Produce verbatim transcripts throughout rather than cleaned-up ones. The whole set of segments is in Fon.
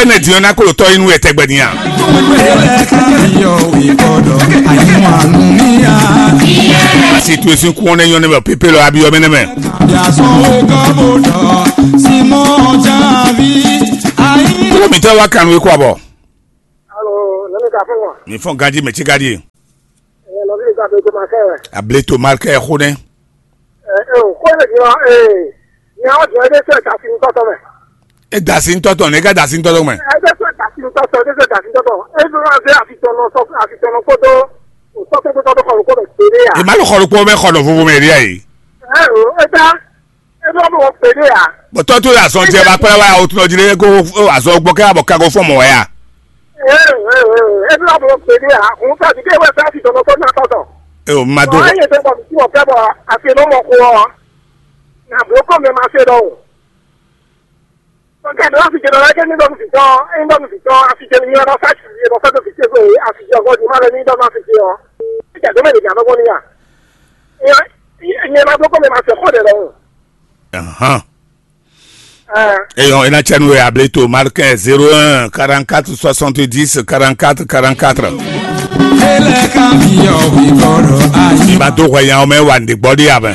Ene din ɔ́ ná kó ɖo tɔ́ yi nú wɛ tɛgbɛ din a? Asi to esin kún ɔ́ nɛ́ nyɔ́ nɛ́ mɛ pépé lɔ abiyɔ mɛ nɛ́ mɛ. Kúrò mi tɛ wá kanu ikú abɔ. Alo, nɛni ka fún wọn? Mi fɔn ganji mɛ ci ganji. Ɛ, nɔvi mi ka bɛ gbɔmɔ kɛ wɛ. Able to marke xó nɛ. Ɛ, ɛ, o, kó lè jɔ, ɛ, nya ɔ jɔ ebe sɛ kasi ntɔtɔ mɛ. E dasi ntɔtɔ ne ka dasi ntɔtɔ mɛ. Ebe sɛ kasi ntɔtɔ, ebe sɛ kasi ntɔtɔ. E fún wa bɛ afitɔnɔ sɔ, afitɔnɔ kódó, o sɔ kódó kódó kɔlɔ kódó kéré ya. E ma lo xɔlɔ kpɔ mɛ xɔlɔ vovo mɛ ria yi. Ɛ, o, e ta. Ebe wa bɔ kpéɖé ya. Bɔtɔ tó yà sɔn jɛ bá kpɛlɛ wá o tún ɔdí lé kó azɔ gbɔ kɛ abɔ kago fún mɔ wɛ ya. Ee, ee, ee, ebe wa bɔ kpéɖé ya. Òun fẹ́ ti ké wẹ́ fẹ́ ti dɔ̀nà tó ná tɔ̀tọ̀. E o ma do. Ɔ, ayé tẹ bɔ tí wọ́n fẹ́ bɔ àti ló mọ̀ kó ọ. Nà bó kọ́ mi ma ṣe dɔ̀wọ́. Ọ̀gá mi wá fi jẹ lọ́la kí ní dọ́nu fi tán, ní dọ́nu fi tán, àfi jẹ ní ọ̀dọ̀ fẹ́ ti, ọ̀dọ̀ fẹ́ tó fi ṣe pé àfi jẹ ọgọ́dì má lẹ ní dọ́nu àfi jẹ ọ. Ìjà tó mẹ́rin ìjà lọ́gbọ́n níyà. Ìyẹn, ìyẹn máa gbọ́ pé mi máa ṣe kọ́ dẹ̀ lọ́wọ́. Ahan. Eyɔn ena tsɛnu wɛ able to marqué zéro un quarante-quatre soixante-dix quarante-quatre quarante-quatre. Ba do hwɛ nya mɛ wa nɖe gbɔ ɖi abɛ.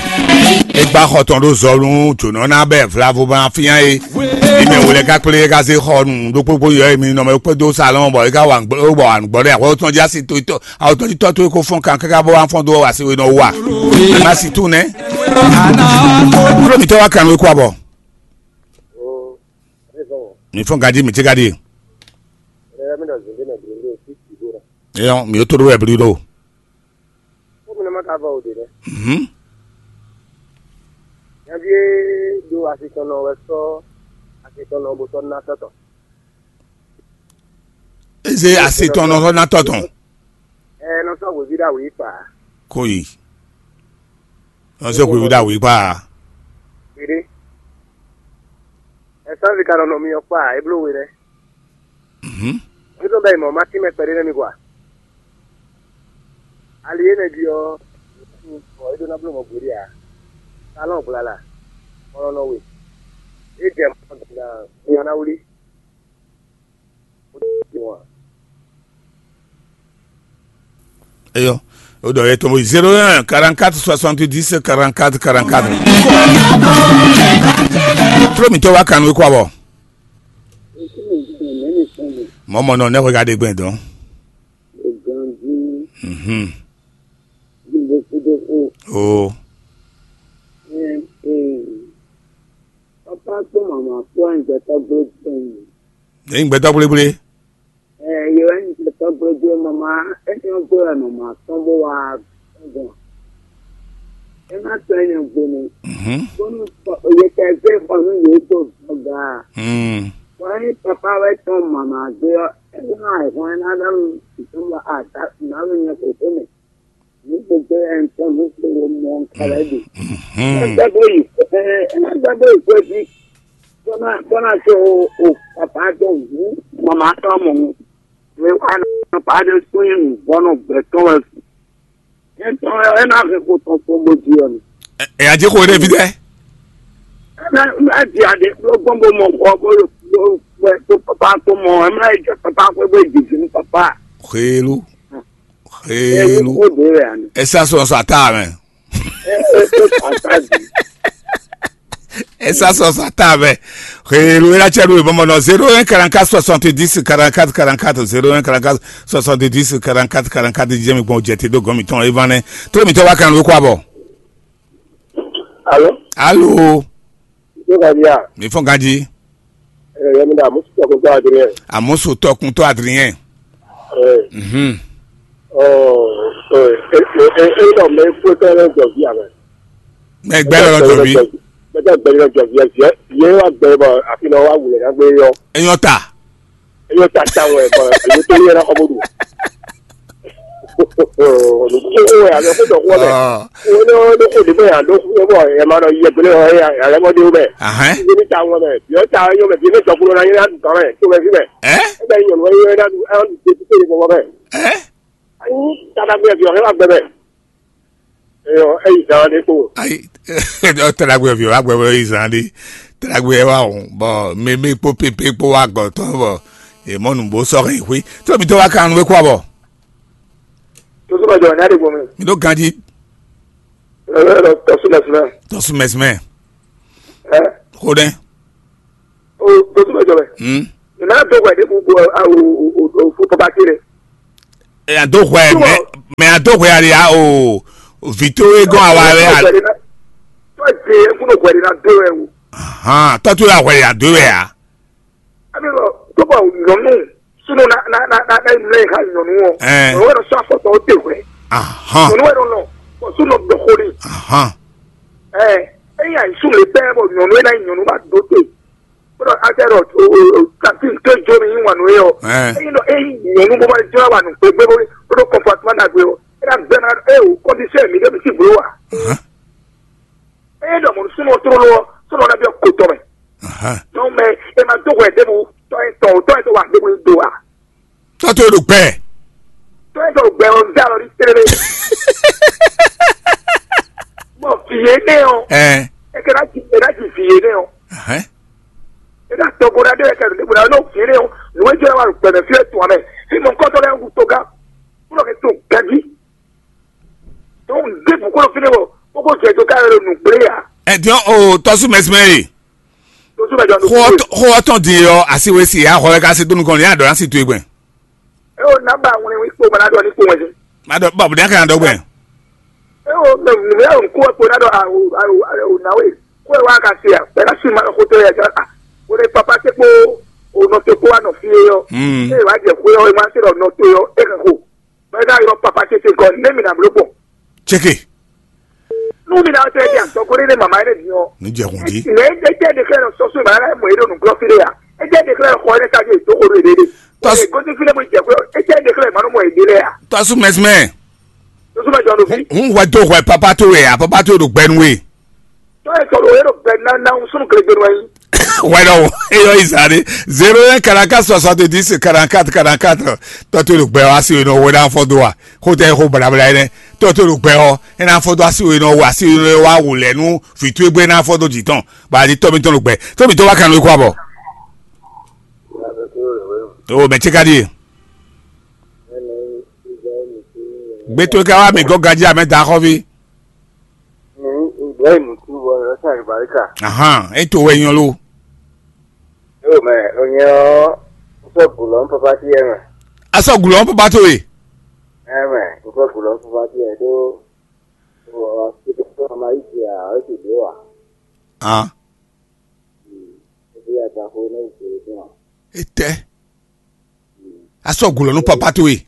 Egba xɔtɔn ɖo zɔlu jona na bɛ vlavo ma finya ye. Ime wòle ka kple ka se xɔ nu ɖokpokpo yɔ emi nɔ mɛ kpe do salon bɔ eka wa ngbɔ bɔ wa ngbɔ ɖe ahwɛ tɔn dzi asi to to awo tɔn dzi tɔ to ko fɔn kan kaka bɔ wa fɔn do wa se we nɔ wa. Ma si tu nɛ. Kúrò mi tɛ wa kan we kó abɔ. Mi fɔn gadi mi tɛ gadi. Eyɔn mi o to ɖo wɛ bli ɖo. Kómi nɔ ma ka vɔ o ɖe nɛ. Mhm. Nyaví e ɖo asi tɔn nɔ wɛ sɔ́ asi tɔn nɔ bo sɔ́ ná tɔtɔ. Eze asi tɔn nɔ sɔ́ ná tɔtɔ. Ɛ nɔ sɔ́ hweví ɖo awǐ kpa. Koyi. Nɔ sɔ́ hweví ɖo awǐ kpa. Ɖeɖe. Ɛsánsi ka nɔ nɔ mi ɔ́ kpa é bló we nɛ́. Mhm. Mǐ ɖo bɛ yi mɔ̌ ma tínmɛ kpɛɖé nɛ́ mi gɔ́ a? Ali énɛ́ jí ɔ́, bɔ é ɖó ná bló mɔ̌ gbeɖé ǎ. Talɔ́n gbla la, kɔlɔnɔ we. É jɛ mɔ ná nya ná wlí. Eyɔ, o ɖɔ yɛ tɔn zéro un quarante-quatre soixante-dix quarante-quatre quarante-quatre. Tró mi tɔ wa kanu kó abɔ. Mɔmɔ nɔ ne regarde gbɛn dɔn. Mhm. Oh. Papa kpó mama kpó àgbẹ̀tọ́ gbé gbẹ̀yìn. Ní gbɛtɔ gblégblé. Ɛ, yewɛ ní gbɛtɔ gbé gbé mama, é nyɔ́ gbé wɛ mama tɔn bó wá gbɔn. É má tɔ é nyɔ́ gbé ni. Mhm. Bónú yetɛgbé xɔ nú yě dó gbɔga. Mm. Bɔ é nyí papa wɛ tɔn mama gbé ɔ́, é ná àìhɔn é ná ɖɔ nú ìtúmọ̀ àdá nǎ ló nyɛ kòkó mɛ. Ní gbogbo ẹ̀ ń tọ́ ní gbogbo mọ́ ń kálẹ̀ dì. Ẹ gbàgbé yìí, ẹ ẹ má gbàgbé ìgbésí. Bọ́nà bọ́nà tó o bàbá tó wù màmá tó mọ̀ wù. Ẹ wà ní bàbá tó sún yín nù bọ́nà gbẹ̀tọ́ ẹ. Ẹ tọ́ ẹ náà fi kó tán fún bó di ọ̀nà. Ẹ ẹ ajé kò rẹ fi dẹ. Ẹ má ẹ di adé ló gbọ́n bó mọ̀ kọ́ bó bó bó bàbá tó mọ̀ ẹ má ẹ jẹ́ bàbá pé bó jìjì ní bàbá. Xélu. Xélu. Ẹ sá sɔ sɔ ata mɛ. Ẹ sá sɔ sɔ ata mɛ. Xélu ela cɛ ɖo bɔmɔ nɔ zéro un quarante-quatre soixante-dix quarante-quatre quarante-quatre zéro un quarante-quatre soixante-dix quarante-quatre quarante-quatre jɛ mi gbɔn jɛ te ɖo gɔn mi tɔn evan nɛ. Tó mi tɔ wa kan ló kó abɔ. Alo. Alo. Tó ka di a? Mi fɔn ganji. Ɛ yɛ mi da musu tɔkuntɔ Adrien. Amusu tɔkuntɔ Adrien. Ɛ. Mhm. Ɔ ɔ ɛ ɛ ɛ ɛ dɔ mɛ kpótɔ lɛ jɔ vi amɛ. Mɛ gbɛ lɔ jɔ vi. Mɛ gbɛ lɔ jɔ vi ɛ viɛ viɛ wa gbɛ bɔ afi nɔ wa wulɛ na gbé yɔ. Enyɔ ta. Enyɔ ta ta wɛ bɔ enyɔ tó yɛ na kɔ bó do. Olùkókó wɛ àbí ọkọ dọ̀kú ọbẹ̀. Wọ́n ní wọ́n ní kò dé bẹ́ẹ̀ àdó fún ẹbọ ẹ̀ máa lọ yẹ gbélé wọn ẹ̀ àlẹ́mọ́dé wọn bẹ̀. Ahán. Ibi ní ta wọn bẹ̀ bí wọ́n ta yọ bẹ̀ bí ní tọkùnrin náà yẹn á dùn kàn bẹ̀ tó bẹ̀ sí bẹ̀. Ẹ́. Ẹ bẹ̀ yọ̀nù wọn yẹn á dùn ẹ̀ á dùn tó tó yẹ bọ̀ bẹ̀. Ẹ́. Ayi tàdàgbé ẹ̀ fi ọ̀hẹ́ wà gbẹ bẹ̀. Ẹ yọ ẹ yìí dáhùn ní kò. Ayi tàdàgbé ẹ̀ fi ọ̀hẹ́ wà gbẹ bẹ̀ yìí sàn án dé. Tàdàgbé ẹ̀ wà hùn bọ̀ mímí kpó pépé kpó wà gọ̀tọ̀ bọ̀. È mɔ nǔgbó sɔ́ hɛn xwé. Tó mi tó wá kan nú wé kú abɔ. Tó tó bá jɔ ní àdìgbò mi. Mi ɖó ganjí. Lọ́lọ́ tọ́sí lẹ́sìn náà. Tɔ́sú mɛsìmɛ. Ẹ Xó ɖɛ. O tó tó bá jọ bẹ. Hmm. Ìmọ̀ àdó wẹ̀ ní gbogbo o o o o papa kiri. Ẹ àdó hwɛ mɛ mɛ àdó hwɛ àlè ya o. Vǐ tó é gɔn àwa rɛ. Tó ẹ jẹ kúnnú hwẹ̀ ní àdó ẹ o. Hàn tɔ́tú la hwɛ àdó wɛ ya. Ami lɔ tó bá nyɔnu súnú na na na na na ìmúlẹ̀ ìhà nyɔnu wọn. Ẹ. Òun wẹ̀ lọ sọ àfọ̀tọ̀ ó dé wẹ̀. Ahàn. Nyɔnu wẹ̀ lọ lọ bọ̀ súnú dọ̀kọ́ ni. Ahàn. Ẹ ẹ̀yìn àìsùn lè bẹ́ẹ̀ bọ̀ nyɔnu ẹ̀ náà nyɔnu bá dó dé. Kódà akẹ́ lọ o o o kàtí nké jó ni yín wà nù yẹ ọ. Ẹ. Ẹ̀yìn lọ ẹ̀yìn nyɔnu bó bá jọ wà nù gbégbé bó bó kọ̀fọ̀tìmọ́ dàgbé ọ. Ẹ náà gbẹ́ náà ẹ o kọ́ndíṣẹ́ mi débi sí bùrọ̀ wà. Ahàn. Eye ɖɔ mɔ̌ súnɔ tlóló ɔ́, súnɔ ná byɔ́ kotɔ́ mɛ. Ahàn. Donc mɛ e ma dó hwɛ ɖěbǔ tɔ́ e tɔn o, tɔ́ e tɔn wa ɖěbǔ nyi do a? Tɔ́ tó ɖo gbɛ. Tɔ́ e tɔn ɖo gbɛ ɔ́, zé alɔ ní tlélé. Bɔ vǐ énɛ́ ɔ́, Ɛ. E ka ná ji e ná ji vǐ énɛ́ ɔ́. Ahàn. E ná tɔgbo ná ɖé wɛ kɛ ɖěbǔ ná nɔ vǐ énɛ́ ɔ́, nǔ e jɔ wá ɖo gbɛmɛ fí e tɔn mɛ. Fí mɔ kɔ́tɔ́ lɛ́ɛ wu toga, kúlɔ ke to ganjí. Donc ɖěbǔ kó ɖo fínɛ́ wɔ kókó jɛ dó ká yɔ ɖo nǔgblé ǎ. Ɛ diɔn o tɔ́sú mɛsìmɛ e. Tó sú mɛ jɔ nú Xó ɔ́ tɔn- xó ɔ́ tɔn din ɔ́, asi we si ya xɔ wɛ ká se dó nukɔn ní adɔ ná si to egbɛn. E o namba ŋun ní kpó mɛ ná ɖɔ ní kpó wɛn sí. Má dɔ bɔ bùdá kan dɔ gbɛn. E o mɛ mɛ o kó kpó ná ɖɔ awo awo awo na we kó e wá ka se a bɛ ká si ma xó tó yɛ jɔ a o de papa te kpó o nɔ te kpó wa nɔ fi yɔ. Hmm. E wa jɛ xó yɔ e ma se ɖɔ nɔ to yɔ e kan xó. Bɔ e ka ylɔ papa ce ce gɔ́ ne mi na bló gbɔn. Ceke. Nú mi na ɔtɛ di atɔgɔlé ne mama ne diɔ. Ní jɛ hun dí. Ne e jɛ de kɛ sɔsɔ ma la mɔ e ɖo nukplɔ fi de ya. E jɛ de kɛ xɔ ne ka je to ko de de. Tɔs- E gosi fi ne mo jɛ ko e jɛ de kɛ ma no mɔ e de lɛ ya. Tɔsu mɛsmɛ. Sɔsɔ ma jɔ no fi. Hun hun hwɛ do hwɛ papa to wɛ a papa to ɖo gbɛnu we. Tɔ e sɔrɔ e ɖo gbɛ na na sunu kele gbenu ayi. Wɛlɛ o, eyɔ yi sa ɖe. Zéro un quarante-quatre soixante-dix quarante-quatre quarante-quatre. Tɔ to ɖo gbɛ wa si o nɔ wo ɖa fɔ do wa. Xo tɛ xo blabla yi nɛ. Tɔ to ɖo gbɛ ɔ, e na fɔ do asi o nɔ wo asi o nɔ wa wo lɛ nu. Fitu egbe na fɔ do jitɔn. Ba di tɔ mi tɔn ɖo gbɛ. Tɔ mi tɔ wa kan nɔ ko abɔ. O mɛ tse ka di ye. Gbe to ka wa mi gɔ gaji amɛ da xɔvi. Ní Ibrahim tún bɔ ẹ ṣe àlùbáríkà. Ahan, e to wɛ nyɔ lo. Yóò mɛ, ònyɛ ɔ, ń fẹ́ gùn lọ ń pọpá sí ẹ mẹ. Asɔ gùn lɔ ń pọpá tó e. Ẹ mẹ, ń fẹ́ gùn lọ ń pọpá sí ẹ tó. Ɔ, ɔ, ɔ, ɔ, máa yí jẹ à, ó sì dé wà. Ah. Ẹ bí àgbà kó ní ìṣòro fún wa. Etɛ. Asɔ gùn lɔ nú papa tó e.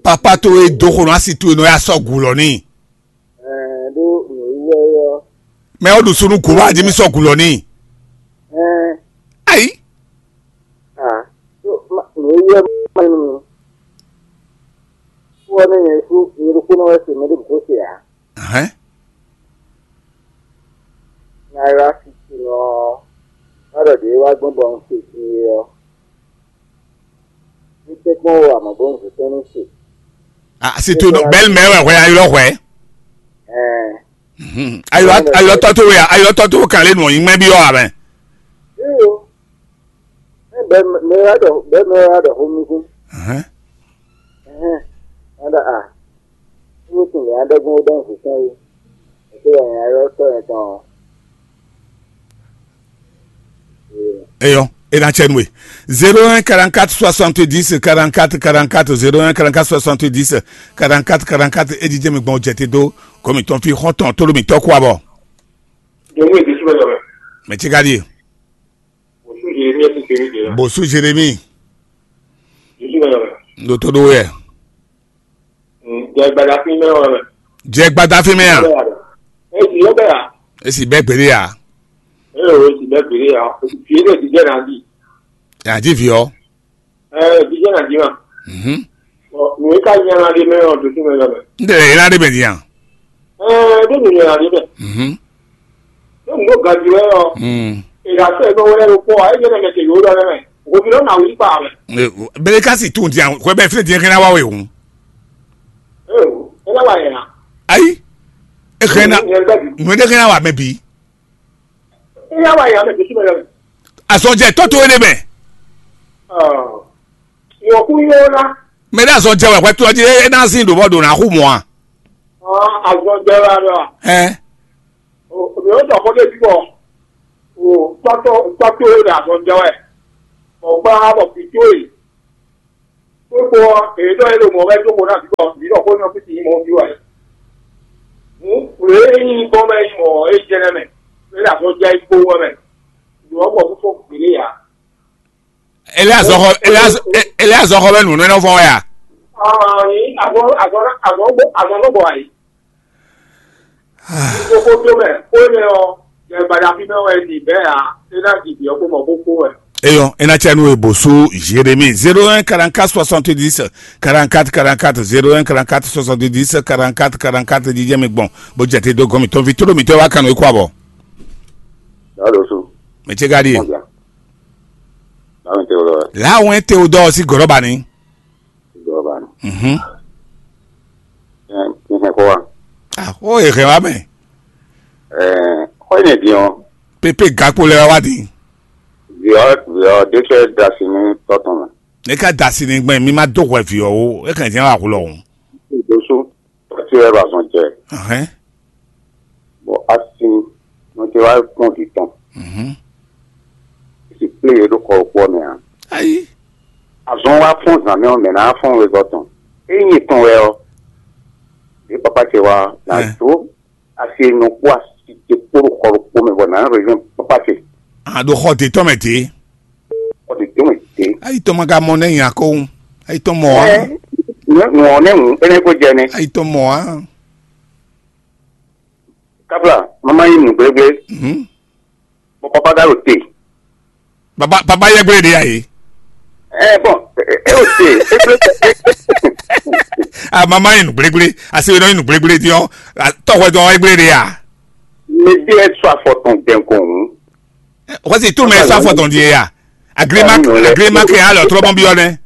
Papa tó e dó xo nɔ asi tó e nɔ ya sɔ gùn lɔ ní. Ɛɛ, ɖó nǔwiwa ɔ́. Mɛ o ɖu sunu gùn wa adi mi sɔ gùn lɔ ní. Ɛɛ, Ayi. A, ɖó nǔwiwa ɔ́ ma nú mi. Wɔ ne nyɛ sú nyɛ ɖokpónɔ wɛ se mɛ ɖé bó se ǎ. Hɛn. Nya e wá fi ce nɔ ɔ́, wá ɖɔ ɖě wá gbɔn bɔ un se din é ɔ́, un tɛ́nkpɔ́n wɔ amɔ̌ bó un zě tɛ́n nú se. A si to nɔ bɛl mɛ wɛ hwɛ ayɔ hwɛ. Ɛɛ, Mhm. Ayɔ ayɔ tɔ to wɛ ayɔ tɔ to kan le nɔ yi mɛ bi ɔ amɛ. Iyo. Ɛ bɛ mɛ wá ɖɔ bɛ mɛ wá ɖɔ xó mi kú. Ɛhɛn. Ɛhɛn. Wá ɖɔ a. Wó tún lè adɔgun wó dɔn fufun wó. Ètò ɛ̀yìn ayɔ tɔ yẹn tán. Eyɔ, e na tsɛ nue. Zéro un quarante-quatre soixante-dix quarante-quatre quarante-quatre, zéro un quarante-quatre soixante-dix quarante-quatre quarante-quatre, e jijɛ mi gbɔn jɛte do, kɔmi tɔn fi xɔntɔn tolo mi tɔ kú abɔ. Jɔnmu e Jesu bɛ jɔ mɛ. Mɛ tsi ka di. Bosu Jeremi e tun kpemi de la. Bosu Jeremi. Jesu bɛ jɔ mɛ. Ndo to do yɛ. Jɛ gbada fi mɛ wɛ mɛ. Jɛ gbada fi mɛ ya. E ti yɔ bɛ ya. Esi bɛ gbede ya. E o ti bɛ gbede ya. O ti fi ne ti jɛ na di. Ya di fi ɔ. Ɛ ti jɛ na di ma. Mhm. Ɔ nu ka nya na di mɛ ɔ do ti mɛ lɔ mɛ. N tɛ yɛ na de bɛ di yan. Ɛ do nu nya na di mɛ. Mhm. Do nu do gaji wɛ ɔ. Mm. Ìdásẹ́ ìgbọ́ wọlé ló pọ̀ ayé jẹ́ mẹ́tẹ̀ yóò lọ rẹ mẹ́. Òbí ló nà wí pa rẹ. Bele kasi tun diyan hwɛ bɛ fili diyan kɛnɛ wa we hun. Ee o, ẹ lọ wà yẹn na. Ayi. E kɛnɛ na. Ẹ gbẹ bi. Nwe de kɛnɛ wa mɛ bi. Ẹ yà wà yẹn na mẹ kìí sí mẹ lọ. Asɔjɛ tɔ to ne mɛ. Ɔ, yɔ kú yɔ ná. Mɛ ɖé azɔn jɛ wɛ hwɛ tó ɔjí é ná zín ɖo bɔ ɖo ná xú mɔ a? Ɔ, azɔn jɛ wɛ alɔ. Ɛ. O, mi ò tɔ kó dé bí bɔ. O, tɔtɔ tɔtɔ e ɖo azɔn jɛ wɛ. Bɔ gba bɔ fi tó e. Kpókpó ɔ́, èyí ɖɔ é ɖo mɔ̌ wɛ dó xo ná vǐ bɔ vǐ ɖɔ xó nyɔ fí sin nyí mɔ̌ ví wɛ. Hǔn, wlě é nyí nyǐkɔ mɛ nyí mɔ̌ é jɛ nɛ́ mɛ, é ɖo azɔn jɛ yi kpowun wɛ mɛ. Nǔ ɔ́ gbɔ fífó gběɖé ǎ. Ele azɔxɔ ele azɔ ele azɔxɔ bɛ nǔ nɔ fɔn wɛ a? Ɔn, azɔn azɔn azɔn azɔn nɔ bɔ ayi. Gbogbo tó mɛ, xó énɛ́ ɔ́, yɛ gbadá fí mɛ wɛ è ɖi bɛ̌ ǎ, é ná ji vǐ ɔ́ kpó mɔ bó kpó wɛ. Eyɔn, ena cɛ nu ebo su Jérémie zéro un quarante-quatre soixante-dix quarante-quatre quarante-quatre, zéro un quarante-quatre soixante-dix quarante-quatre quarante-quatre jijɛ mi gbɔn bó jɛ te dó gɔn mi tɔn vi tló mi tɛ wá kanu ikú abɔ. Dado su. Mɛ ce ka ɖi ye. Kɔn bia. Báwo ni tɛ o lɔ? Láwọn tẹ o dɔ sí gɔ̀rọ̀ bá ní. Jɔba nɔ. Mhm. Ɛ, mi hɛn xó wa. Ah, ó yɛ hɛn wá mɛ. Ɛ, xɔ yi nɛ din ɔ. Pépé gakpo lɛ wá di. Viɔ viɔ ɖé fɛ dasi ní tɔtɔn mɛ. Ne ka dasi ní gbɛn mi ma dó hwɛ viɔ o, e kàn jẹ́ wà hulɔ o. Dosu tɔtí wɛ ba zɔn jɛ. Ahɛn. Bɔ asi nɔ tɛ wá kpɔn di tɔn. Mhm. Si kplé yɛ ɖó xɔ kpɔ mɛ a. Ayi. Azɔn wa fɔn zan mɛ ɔ mɛ na fɔn wezɔ tɔn. Eyi tɔn wɛ ɔ. Ɖe papa ce wa na Ɛ. Do asi nɔ kpó asi ce kpó ɖo xɔ ɖokpó mɛ bɔ na région papa ce. A ɖo xɔ de tɔn mɛ de. Xɔ de tɔn mɛ de. Ayi tɔn ma ka mɔ ne nya ko. Ayi tɔn mɔ wa. Ɛ, nɔ nɔ ne ŋu ene ko jɛ ne. Ayi tɔn mɔ wa. Kabla mama yi nu gblegble. Mhm. Bɔ papa ka ɖo te. Baba baba yɛ gblé de ya ye. Ɛ bɔn e o te e gblé. A mama yi nu gblegble, a se nɔ yi nu gblegble di ɔ, tɔhwɛ dɔn yɛ gblé de ya. Mɛ de ɛ sɔ afɔ tɔn dɛn kɔn hun. Wasi tu mɛ sɔ afɔ tɔn di ye ya. Agrément agrément kɛ alɔ trɔ bɔn bi ɔ nɛ.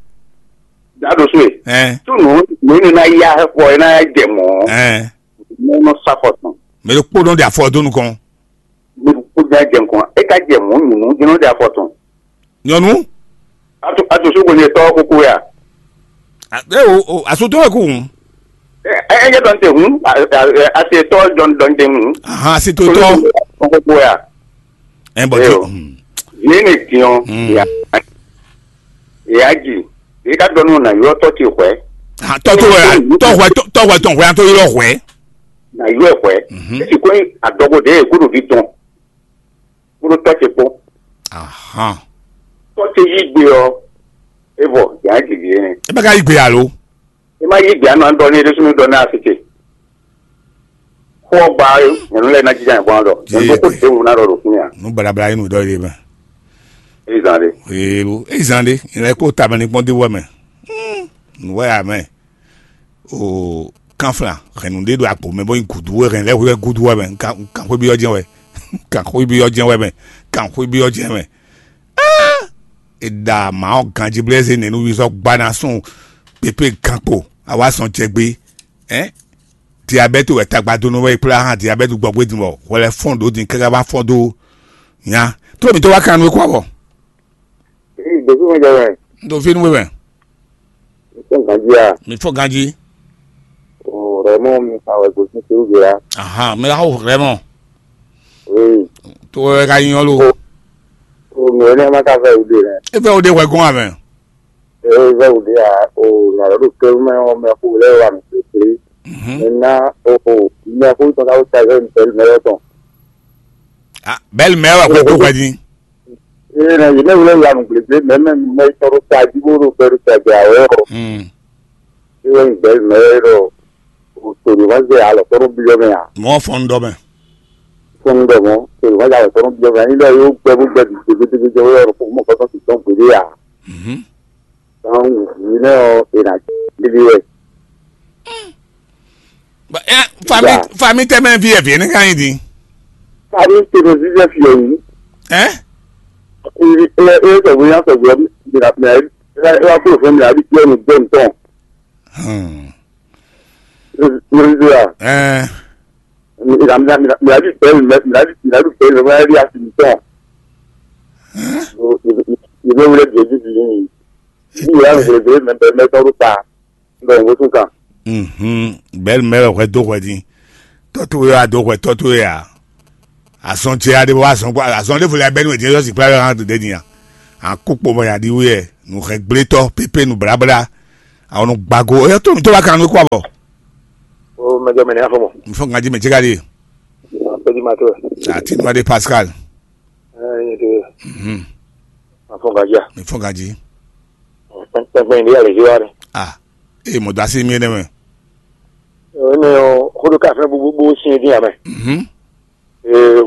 Dado so ye. Ɛ. Tu nu nu ne na ya xɔ ye na ya jɛ mɔ. Ɛ. Mɛ nɔ sɔ afɔ tɔn. Mɛ ɖo kpódɔn de afɔ dó nukɔn. Mɛ ɖo kpódɔn jɛ nukɔn. E ka jɛ mɔ nyunu jɛ nɔ de afɔ tɔn. Nyɔnu. Ato ato so ko ne tɔ koko ya. A- E o o aso tó wɛ kú hùn. Ɛ ɛ jɛ dɔn te hun. Ase tɔ dɔn dɔn te hun. Ahan aso tó tɔ. Koko ya. Ɛ bɔ Ɛ tó. o. Yìí ni tiɲɔ. Mm. Ya. Ìyá jì, èyí ká dɔn nù nà yɔ tɔ ce hwɛ. Tɔ tó wɛ tɔ hwɛ tɔ hwɛ tɔn hwɛ an tó ylɔ hwɛ. Nà yɔ ɛ hwɛ. Mhm. Esi kò ní adɔgo de kó ɖo vi tɔn kó ɖo tɔ ce kpó. Ahan. Tɔ ce yí gbe ɔ, e vɔ yà á jì vi ene. E bɛ ka yí gbe alo. E ma yí gbe anɔ dɔ ní e ɖésú ní dɔ ní así ce. Xó ɔ́ gba nyɔ̌nu lɛ́ɛ ná jínjɔ́n ayǐ gbɔn ɖɔ nyɔ̌nu kó ɖěbǔ ná ɖɔ ɖo fínɛ́ ǎ. Nú baɖabaɖa nyí nǔ ɖɔ ɖe mɛ. Éyi zan ɖe. Ee lo, éyi zan ɖe, nyɛ lɛ́ kó tamɛ ní kpɔ́n dé wɛ mɛ. Hmm, nǔ wɛ ya mɛ. O kanflan hɛn nǔɖé ɖo agbo mɛ bɔ nyí gǔdo wɛ hɛn lɛ́ hwɛ gúdo wɛ mɛ. Kan xwé byɔ́ jɛ́n wɛ. Kan xwé byɔ́ jɛ́n wɛ mɛ. Kan xwé byɔ́ jɛ́n wɛ. È ɖa mǎ ɔ́ ganjí blɛ́ zé nɛ̌ nú wí sɔ́ gba ná sún pépé gankpo awá sɔn jɛ gbé. Ɛ diabɛ́ti wɛ tagba dó nú wɛ é kplá hán diabɛ́ti gbɔgbé din bɔ hwɛ lɛ́ fɔ́n ɖó din káká bá fɔ́n dó nya. Tló mǐtɔn wá kan nú é kú abɔ. Ee, ɖo fí mɛ jɛ wɛ. Ɖo fí nú we mɛ. Fɔ́n ganjí a? Mi fɔ́n ganjí. O rɛmɔ mi fa wɛ gosín sírúgbé a? Ahan, mi la xo rɛmɔ. Oui. To wɛ ka nyɔ lo. O o mi ò ní ẹ má ká fẹ́ wúde rẹ. E fẹ́ wúde wɛ gɔn amɛ. Ee, vɛ wúde a o nà lɔ ɖo kɛrú mɛ ɔ mɛ xo lɛ wà mí pépé. Mhm. Mɛ ná o o mɛ xo tɔn ká wó sa zɛ mi pẹ̀lú mɛ yɔ tɔn. Ah, bɛli mɛ wà kó tó hwɛ din. Ee, na yě mɛ wlé lanu gblégbé mɛ mɛ mɛ tɔn ɖo tají bó ɖo gbɛ ɖo tɛgbɛ awɛ ɔ. Hmm. Ewé gbɛ mɛ ɖɔ o tòló ma zɛ alɔ tɔn ɖo biyɔ mɛ a. Mɔ fɔn dɔ mɛ. Fɔn dɔ mɔ tòló ma zɛ alɔ tɔn ɖo biyɔ mɛ. Ani ɖɔ yóò gbɛ bó gbɛ bi gbégbégbé jɛ wé ɔrɔ fún mɔ kɔtɔn ti tɔn gbélé a. Mhm. Tɔn yìí náà ɔ ìnà lílí wɛ. Ba- ɛ, fami Ya. Fami tɛ mɛ vi ɛvi ne kan yi di. Fami tɛ mɛ vi ɛvi yɛ yi. Ɛ? Ɛ ɛ sɔgbɔ ya sɔgbɔ mi na mi na ɛ wa kúrò fún mi na bi tiɛ mi gbẹ ntɔn. Hmm. Mi mi ya. Ɛ. Mi na mi na mi na bi bɛ mi na mi na bi mi na bi bɛ mi na bi asi mi tɔn. Ɛ? Mi mi mi bɛ wulẹ bi eji bi. Yíyá mi xlebé mɛ bɛ mɛ tɔn ɖo ta, un ɖɔ nǔgbó tún kan. Mhm. Bɛ́ mɛ wɛ hwɛ dó hwɛ din. Tɔ́ towe wɛ a dó hwɛ tɔ́ towe a? Azɔn ce a ɖe bɔ azɔn kpɔ azɔn ɖěvo lɛ bɛ́ nú è din yɔ si kplá yɔ hã ɖe din a? Akú kpo mɔ ya ɖi wú yɛ nǔ hɛn gblé tɔ́ pépé nǔ bláblá. Àwọn nɔ gbàgò ó yɔ tó mi tó bá kan nú kó abɔ. O mɛjọ mɛ ní afɔ mɔ. N fɔ ŋa jí mɛ jẹ́gá de. Pedi ma tó ɛ. Àti nua de Pascal. Ɛ ɛ de. Mhm. Ma fɔ ŋa jí a. Mi fɔ ŋa jí. Pɛnpɛn ní alè jí wa ni. Ah. Ee mɔ dasi mi ne mɛ. Ɛ ne o kodo ka fɛn bubu bu sin dín amɛ. Mhm. Ee,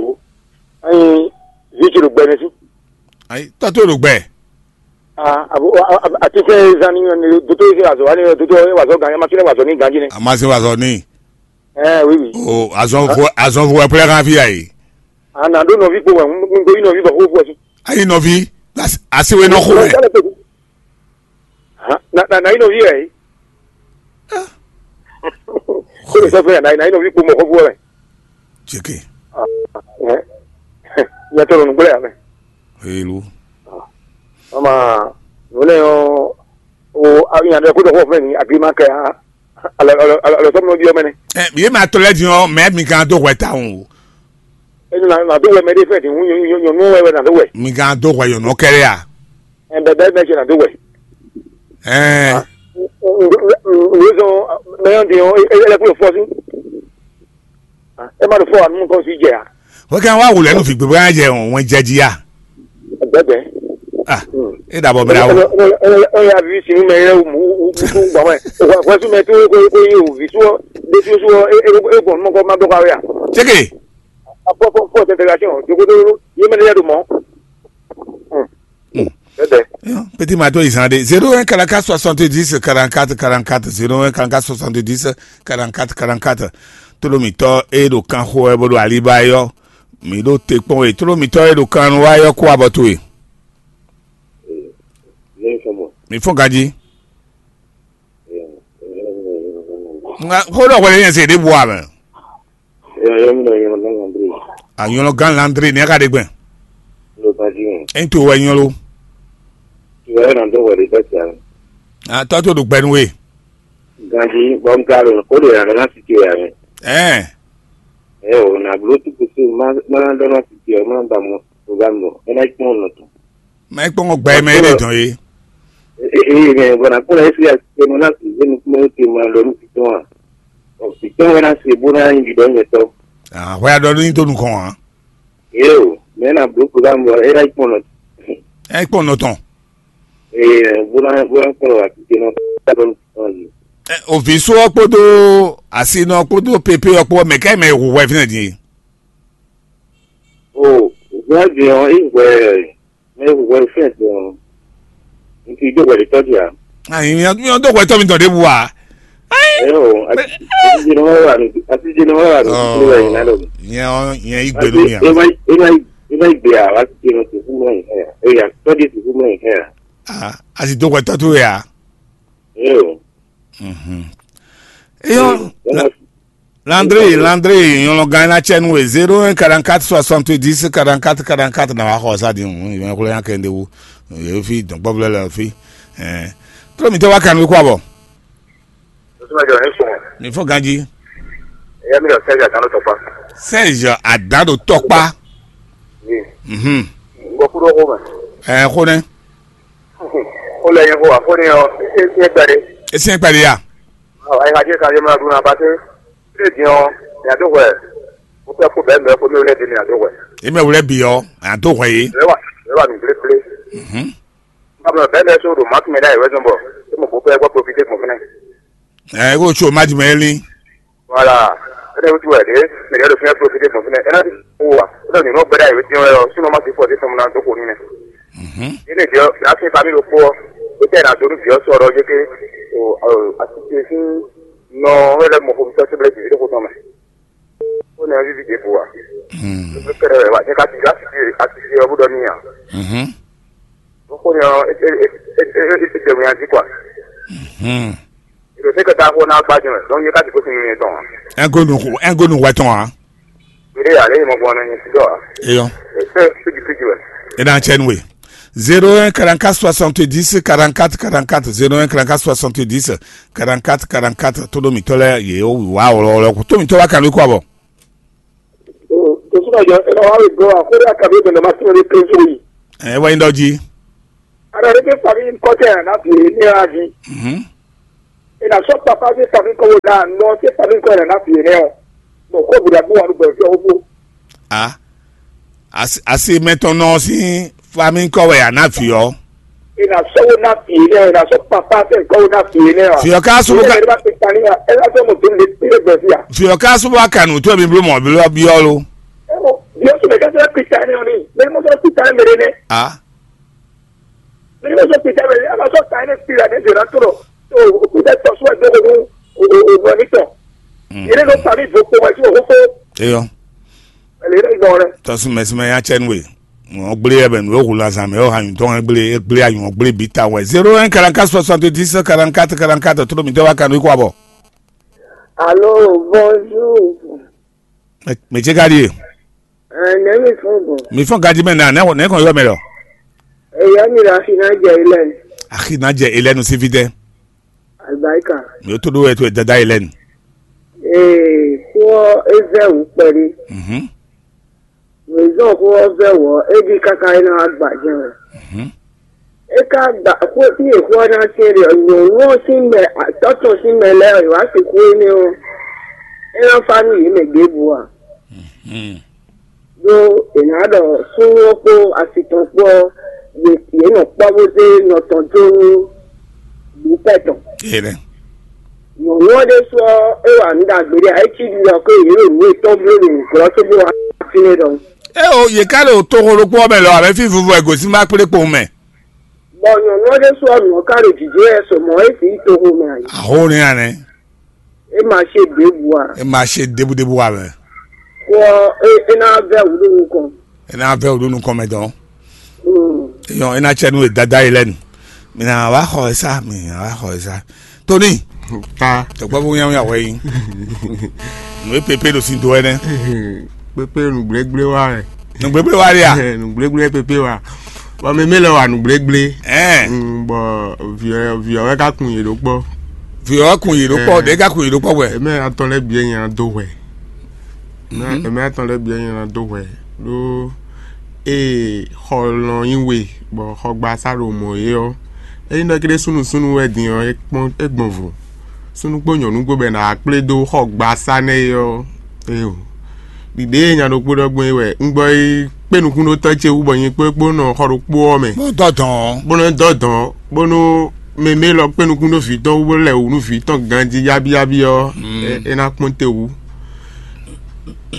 ayi vi ti ɖo gbɛ ne sí. Ayi tɔ́ tó ɖo gbɛ. Ah, abo ati fɛn zan ni doto yi se wazɔ wani doto yi wazɔ gan ma kile wazɔ ni ganji ne. A ma se wazɔ ni. Ɛ oui oui. O azɔn vo azɔn vo wɛ plɛ kan fi ayi. A na ɖo nɔvi kpo wɛ n ɖo yi nɔvi bɔ xo fɔ si. Ayi nɔvi asi we nɔ xo wɛ. Na na yi nɔvi wɛ yi. Ko le sɔfɛ na na yi nɔvi kpo mɔ xɔfu wɛ. Tseke. Nyɛ tɔ nɔ nugblɛ ya mɛ. Helu. Ama nune o o nya ɖe ko dɔ xɔ fɛ ni agri ma kɛ ha. Alɔ alɔ alɔ sɔmɔ nɔ bi ɔmɛ nɛ. Ɛ yé ma tɔ lɛ din ɔ mɛ mi kan do hwɛ ta o. Enu na na do wɛ mɛ ɖe fɛ di ŋu nyɔnu wɛ wɛ na do wɛ. Mi kan do hwɛ yɔnɔ kɛrɛ a. Ɛ bɛ bɛ bɛ jɛ na do wɛ. Ɛɛ. Nuzɔn mɛyɔn di ɔ ɛlɛ kúlò fɔ sí. Ɛ má do fɔ anu kɔ sí jɛ a. Wọ́n kàn wá wòlẹ́ nù fìgbè bóyá jẹ òun jẹ jí yá. Bẹ́ẹ̀ bẹ́ẹ̀. Ah, e dàbọ̀ bẹ̀rẹ̀ àwọn. Ẹ yà fi sinú mẹ yẹ wù mú wù mú gbọ̀n mẹ́. Wọ́n sún mẹ tó kó kó yé wù fi sún dé sún sún ẹ ẹ gbọ̀n mọ́ kọ́ má dọ́ ká wé à. Chékè. Apɔ fɔ fɔ tẹtẹrẹ àti hàn jogodo yé mẹ lẹ́yà do mọ́. Bẹ́ẹ̀ bẹ́ẹ̀. Petit mato izan de zéro un quarante-quatre soixante-dix quarante-quatre quarante-quatre zéro un quarante-quatre soixante-dix quarante-quatre quarante-quatre. Tolomitɔ e ɖo kanxo wɛ bó ɖo aliba yɔ. Mi ɖo te kpɔn we tolomitɔ e ɖo kan nu wá yɔ kó abɔ towe. Mi fɔn ganji. Nga xó ɖɔ hwɛ yẹn se ɖe bu amɛ. Anyɔlɔ gan Landry ní aka ɖe gbɛn. Eyin to wɛ nyɔlo. Atɔ to ɖo gbɛnu we. Ganji bɔn ka ɖo ko ɖo yàrá náà ti ti yàrá. Ɛɛ. Ɛ o na blo tu kusi ma ma dɔ náà ti ti ɔ ma ba mɔ o ba mɔ ɛ na kpɔn nɔ tɔn. Mɛ kpɔn gbɛ mɛ ɖe dɔn ye. Ee mɛ bɔn na kpɔn esi ati tɛ mɔ na ti zenu kpɔn ti ma lɔ nu ti tɔn a. Ɔ ti tɔn wɛ na se bo na yin dɔ nyɛ tɔ. Ahwɛ adɔ ní tó nukɔn wa. Ee o mɛ na blo ko ba mɔ ɛ na kpɔn nɔ. Ɛ kpɔn nɔ tɔn. Ee bó ná bó ná kplɔ́n wá títí nɔ ká lɔ nukɔn jí. Ɛ, òvǐ só ɔ́ kpódó asinɔ kpódó pépé ɔ́ kpó mɛ ká mɛ hu hwɛ fínɛ́ din. O òvǐ ɔ́ din ɔ́ é hwɛ mɛ hu hwɛ fínɛ́ din ɔ́ n ti dó hwɛ ɖé tɔ́ jí a. Ayi mi ɔn mi ɔn dó hwɛ tɔ́ mi tɔn ɖěbǔ wa. Ɛ o atijé ni wọ́n wà ní atijé ni wọ́n wà ní kúkúrú ẹ̀ yìí lálẹ́ òní. Nyɛ ɔ nyɛ yi gbenu mi a. Ema ema ema igbe a wá ti dé nɔ tòkú mọ́ yìí ẹ̀ ẹ̀ yà tọ́jú tòkú mọ́ yìí ẹ̀. Ah, a si dó hwɛ tɔ́ towe a. Ẹ o. Mhm. Eyɔ. Landry, Landry, nyɔnɔ gán na tsɛ nu we zéro un quarante-quatre soixante-dix quarante-quatre quarante-quatre na wa xɔ sa di ŋu yɛn xlɔ yan kɛ ndewu yɛ fi dɔn gbɔblɛ lɛ fi. Ɛɛ. Tlo mi tɛ wa kan mi kó abɔ. Ní fɔ ganji. Ẹ̀yà mi lọ sẹ́jà kan ló tọpa. Sẹ́jà àdán ló tọpa. Mhm. N gbọ́ kúrò kó mẹ́. Ẹ kó nẹ. Ó lẹ yẹn kó wà fún ni ọ ẹ ẹ gbẹdẹ. Esi ẹ gbẹdẹ ya. Ɔ ẹ hajẹ kan yẹ mọ adúlọ náà bá tẹ. Ṣé di ọ ní àdó wẹ? Ó fẹ́ kó bẹ́ẹ̀ mẹ́ kó mi wúlẹ̀ di ní àdó wẹ. Emi wúlẹ̀ bi ọ, àdó wẹ yìí. Ẹ wà ẹ wà nù gblégbé. Mhm. Báwo bẹ́ẹ̀ bẹ́ẹ̀ sọ̀rọ̀ máa tún mi láì wẹ́sùn bọ̀. Ṣé mo kó fẹ́ gbọ́ profité gbọ̀n fúnẹ̀? Ẹ kó tso má di mẹ́ lé. Voilà. Ene wutu wɛ de, ne yɛ do fɛn profité gbɔn fɛnɛ. Ena ti ko wa. Ena ni no gbɛda yɛ ti wɛ. Sino ma ti fɔ ti fɛn na do ko ni nɛ. Mhm. Ene jɛ la fi famille ko. O tɛ na do ni jɛ sɔrɔ je ke o asike si nɔ wɛ lɛ mɔ ko mi sɔ se bɛ ti ko tɔn mɛ. Ko ne vivi de ko wa. Mhm. Ko kɛrɛ wɛ wa. Ne ka ti la ti a ti yɔ bu dɔ ni ya. Mhm. Ko ko ni e e e e e e de mi a ti kwa. Mhm. Ìrètí kẹta kó ná gbájú rẹ̀ ló ń yí káàdì kó sinmi yẹn tán. Ẹ gonu ẹ gonu wẹ tán wa. Ìdí àlẹ́ yìí mo gbọ́n ní ti dọ̀ wá. Eyọ. Ṣé fíjì fíjì rẹ̀? Ẹ náà tsẹ nu we. Zéro un quarante-quatre soixante-dix quarante-quatre quarante-quatre, zéro un quarante-quatre soixante-dix quarante-quatre quarante-quatre. Tó ɖo mǐtɔn lɛ́ɛ yě wá wɔlɔwɔlɔ kú. Tó mǐtɔn wá kan lóko àbọ̀. Tosúnà jọ ẹ wá wí gbọ́ àkórí àkàbí ìbẹ̀rẹ̀ máa tún lè pé sórí. Ẹ wá yín dɔ jí. Ara rẹ pé fàmí kọ́tẹ́ àná fi ní àjí. Mhm. Ina sɔ papa fi fàmí kọ́ wò náà nọ fi fàmí kọ́ yẹn náà fi yẹn nẹ ọ. Bɔn kó bùdà bó wà ló bẹ̀rẹ̀ fi ọwọ́ bó. A asi mɛtɔn nɔ sín fami kɔ wɛ a ná fi ɔ. Ina sɔ wo náà fi yẹn nẹ ọ, ina sɔ papa fẹ́ kọ́ wò náà fi yẹn nẹ ọ. Fi ɔ ká sɔbɔ ká Ẹ bá ti ta ní ya, ẹ bá fẹ́ mọ̀ tó lè tẹ́lẹ̀ bẹ̀ fi ya. Fi ɔ ká sɔbɔ ká nù tó mi bló mɔ bló bi ɔ lo. Ẹ wọ, bí ó sọ bẹ̀ ká sọ pita ní ọ ní, bẹ́ẹ̀ ni mo sọ pita ní mèrè nẹ. A Bíbélì sọ pé jáde, a máa sọ ta ẹni pìlà ní ìdènà tó rọ̀. Tó o kú bẹ́ẹ̀ tọ́ sún ẹgbẹ́ òun òun òun ẹni tọ̀. Ìdí ló fà mí ìdókòwò wájú òun kó Eyɔ. Ẹ̀lẹ́ ìdí ìgbọ̀n rẹ̀. Tɔsumɛsumɛ ya tsɛ nue. Ŋɔ gblé yɛ bɛ nu yóò hu lazan mɛ yóò ha nyutɔ ŋɛ gblé gblé anyɔ gblé bi ta wɛ. Zéro un quarante-quatre soixante-dix quarante-quatre quarante-quatre, tó mi tɛ wa kanu ikú abɔ. Allô, bonjour. Mɛ tse ka ɖie? Ɛɛ, nɛ̌ mi fɔ́n gbɔn? Mi fɔ́n gaji mɛ na nɛ nɛ kɔn yɔ mɛ lɔ. Eya mi ɖo axi ná jɛ ilɛ. Axi ná jɛ ilɛ nu sífí tɛ. Alibarika. Mi ó tó ɖó wɛ tó dada ilɛ nu. Ee, kó é vɛ wǔ kpɛɖé. Mhm. Mǐzɔn xó ɔ́ vɛ wɔ é ɖi káká é ná wá gbajɛ wɛ. Mhm. É ka gba xó tí è xó ɔ́ ná tɛ́n ɖe ɔ́, nyɔ̌nu ɔ́ sín mɛ, atɔ́ tɔn sín mɛ lɛ́ɛ ɔ́, è wǎ sixú énɛ́ ɔ́, é ná fá nú yě mɛ ɖěbǔ a? Mhm. Ɖó è nǎ ɖɔ súnnu ɔ́ kpó asi tɔn kpó ɔ́, yě yě nɔ kpɔ́ bó zé nɔ tɔn dó nú bǐ pɛ tɔn. Ee nɛ. Nyɔ̌nu ɔ́ ɖésú ɔ́, é wa nǔ ɖagbe ɖé ǎ, é cí ɖiɖɔ xwé yě ɖo nǔ yětɔn bló ɖo nǔglɔ́ cóbó wá fínɛ́ ɖɔhun. É o, yě ká ɖo toxo ɖokpó ɔ́ mɛ lɔ, abɛ fí vuvu wɛ gosín ma kplé kpowun mɛ. Bɔ nyɔ̌nu ɔ́ ɖésú ɔ́, nǔ ɔ́ ka ɖo jǐjɔ́n wɛ sɔ mɔ̌ é sǐ yi toxo mɛ ǎ. Ahó ní anɛ. É ma ṣe ɖěbǔ ǎ. É ma ṣe ɖěbúɖébú ǎ mɛ. Kó ɔ́, é é ná vɛ́ wǔ ɖo nukɔn. É ná vɛ́ wǔ ɖo nukɔn mɛ dɔn. Mm. Eyɔn é ná cɛ nú e dada yi lɛ́nu. Mi ná wá xɔ ɛ sá, mi ná wá xɔ ɛ sá. Tóní, Ta. Tɔgbɔ́vú nyáwó yà wɛ yí. Nǔ e pépé ɖo sin do wɛ nɛ́. Pépé nǔgblégbléwá wɛ. Nǔgblégbléwá ɖe a? Nǔgblégbléwá pépé wa. Bɔ mɛ mɛ lɛ wa nǔgblégbé. Ɛɛ. Mm, bɔ viɔ viɔ wɛ ka kun yě ɖó kpɔ. Viɔ wɛ kun yě ɖó kpɔ, Ɛɛ. Ɖe ka kun yě ɖó kpɔ wɛ. Ɛmɛ atɔn lɛ biɛ nya do hwɛ. Mhm. Ɛmɛ atɔn lɛ biɛ nya do hwɛ. Ɖó ee xɔ lɔn nyi we, bɔ xɔgbasa ɖo mɔ yě ɔ́, ényí ɖɔ kéɖé súnnu súnnu wɛ din ɔ́, é kpɔ́n é gbɔn vo. Súnnu kpó nyɔ̌nu kpó bɔ è nǎ wá kplé dó xɔgbasa nɛ́ é ɔ́, éyo. Ɖiɖě e nya ɖokpó ɖɔ gbɔn é wɛ un gbɔ yi kpé nukúnɖótɔ́ ce wú bɔ nyi kpó kpó nɔ xɔ ɖokpó ɔ́ mɛ. Bó dɔ dɔn. Bó nɔ dɔ dɔn, bónú mɛ mɛ lɔ kpé nukún ɖó vǐ tɔn wú bó lɛ wǔ nú vǐ tɔn ganjí yábíyábí ɔ́, Mm. é- é ná kpɔ́n te wú.